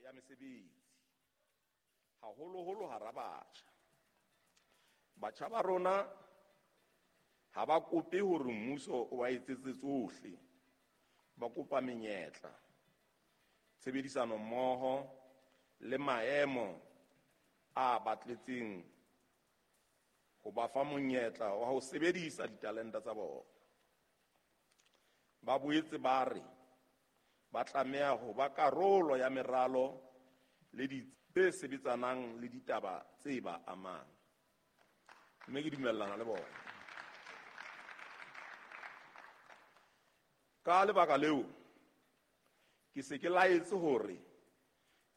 ya mesebetsi, haholoholo hara batjha. Batjha ba rona ha ba kope hore mmuso o ba etsetse tsohle, ba kopa menyetla, tshebedisano mmoho le maemo a batletseng ho ba fa monyetla wa ho sebedisa ditalente tsa bona. Ba boetse ba re ba tlameha ho ba karolo ya meralo le tse sebetsanang le ditaba tse ba amang. Mme ke dumellana le bona. Ka lebaka leo, ke se ke laetse hore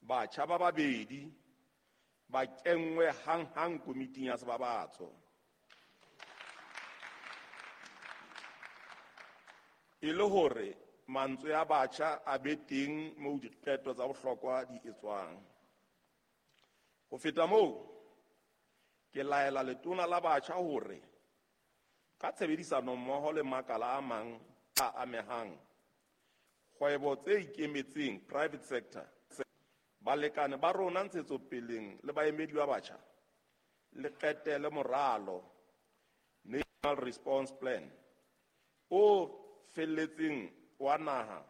batjha ba babedi ba kenngwe hanghang komiting ya sebabatso. E le hore mantswe a batjha a be teng moo diqeto tsa bohlokwa di etswang. Ho feta moo, ke laela letona la batjha hore ka tshebedisano mmoho le makala a mang a amehang, kgwebo tse ikemetseng private sector, balekane ba rona ntshetsopeleng le baemedi ba batjha, le qetele moralo National Response Plan o felletseng wa naha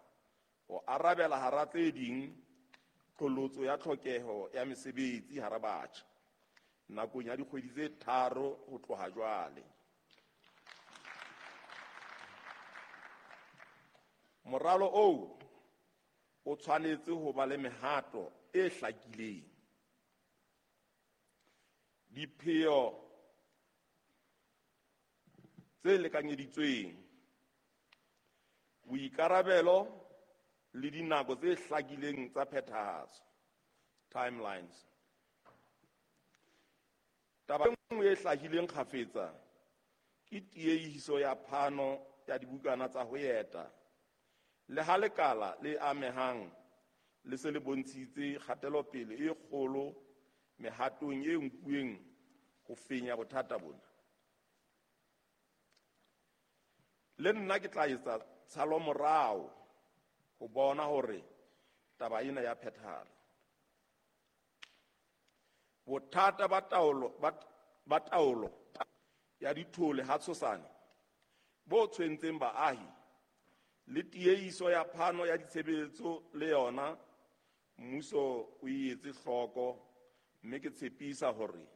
ho arabela hara tse ding qholotso ya tlhokeho ya mesebetsi hara batjha nakong ya dikgwedi tse 3 ho tloha jwale. Moralo oo o tshwanetse ho ba le mehato e hlakileng, dipheo tse lekanyeditsweng, boikarabelo le dinako tse hlakileng tsa phethahatso, timelines. Taba e nngwe e hlahileng kgafetsa ke tiehiso ya phano ya dibukana tsa ho eta. Le ha lekala le amehang le se le bontshitse kgatelopele e kgolo mehatong e nkuweng ho fenya bothata bona. Le nna ke tla etsa tshalomorao ho bona hore taba ena ya phethahala. Bothata ba taolo ya dithole ha Tshosane bo tshwentseng baahi le tiehiso ya phano ya ditshebeletso le yona mmuso o e etse hloko, mme ke tshepisa hore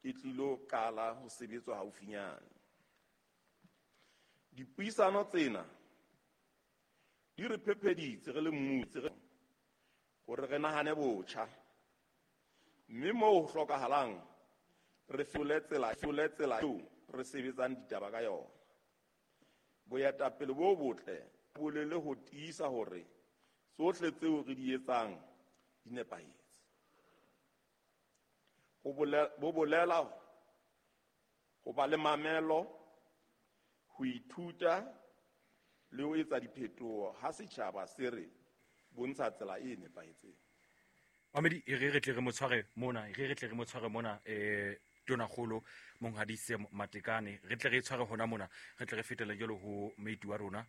e tlilo qala ho sebetswa haufinyane. Dipuisano tsena di re phepheditse re le mmuso hore re nahane botjha, mme moo ho hlokahalang re fetole tsela eo re sebetsang ditaba ka yona. Boetapele bo botle bo bolele ho tiisa hore tsohle tseo re di etsang di nepahetse. Bo bolela ho ba le mamelo, ho ithuta le ho etsa diphetoho ha setjhaba se re bontsha tsela e nepahetseng. Mamedi, e re tle re mo tshware mona, re tle re mo tshware mona, Tonakgolo Monghadi Sam Matekane, re tle re tshware hona mona, re tle re fetele jalo ho moeti wa rona,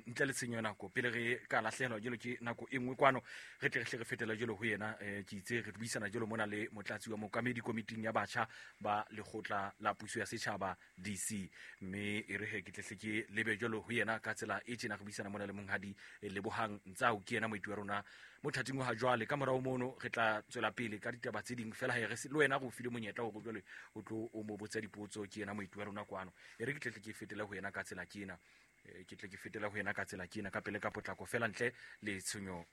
ntle le tshenyo ya nako pele re ka lahlehelwa jalo ke nako e nngwe kwano, re tle re hle re fetele jalo ho yena. Ke itse re buisana jalo mona le motlatsi wa mookamedi komiting ya batjha ba lekgotla la puso ya setjhaba DC, mme e re he ke tle hle ke lebe jalo ho yena ka tsela e tjena. Re buisana mona le Monghadi Lebohang Ntsau, ke yena moeti wa rona mothating wa ha jwale. Ka morao mono re tla tswela pele ka ditaba tse ding fela, he re le wena re o file monyetla hore jwale o tlo o mo botsa dipotso, ke yena moeti wa rona kwano. E re ke tle ke fetele ho yena ka tsela ke ena, ke tle ke fetele ho yena ka tsela ke ena ka pele ka potlako fela ntle le tshenyo